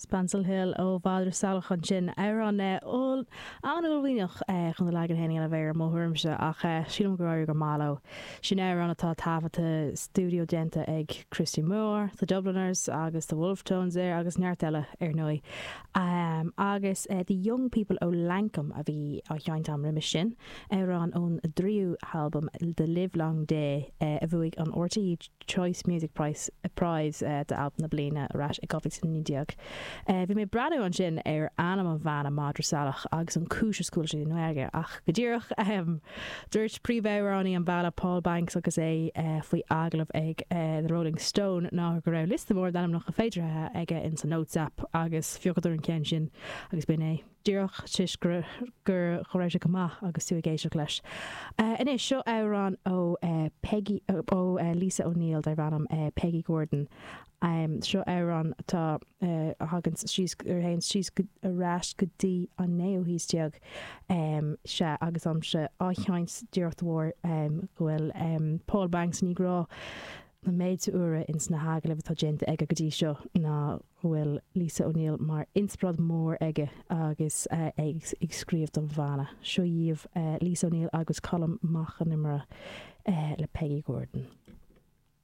Spancil Hill ó Mhadra Salach ansin. Amhrán an-uaillmhianach chun do leagan féin a dhéanamh air i mo thuairimse ach sílim gur éirigh go maith leo. Sin amhrán atá taifeadta stiúideo déanta ag Christy Moore, The Dubliners agus The Wolfe Tones air agus neart eile ar ndóigh. Agus The Young People ó Lankum a bhí á sheinnt agam roimis sin, amhrán ón dtríú halbam The Livelong Day a bhuaigh an RTÉ Choice Music Prize Prize d'albam na bliana ar ais i 2019. Bhí mé ag breathnú ansin ar ainm an bhanna Madra Salach agus an cúis is go bhfuil sé i nGaeilge ach go díreach dúirt príomhamhránaí an bhanna Paul Banks agus é faoi agallamh ag The Rolling Stone ná go raibh liosta mór d'ainmneacha féideartha aige in sa Notes app agus phiocadar an ceann sin agus b'in é. Díreach toisc go go raibh sé go maith agus tú ag éisteacht leis. Anois, seo amhrán ó Peggy, ó Lisa O'Neill darb ainm Peggy Gordon. Seo amhrán atá, a thagann síos, a théann síos ar ais go dtí an naoú haois déag. Sea, agus táimse á sheinnt díreach de bharr go bhfuil Paul Banks i ndiaidh rá an méid uaire ins na hagallaimh atá déanta aige go dtí seo ná go bhfuil Lisa O'Neill mar inspioráid mór aige agus é ag scríobh don bhanna. Seo dhaoibh Lisa O'Neill agus Colm Mac Con Iomaire le Peggy Gordon.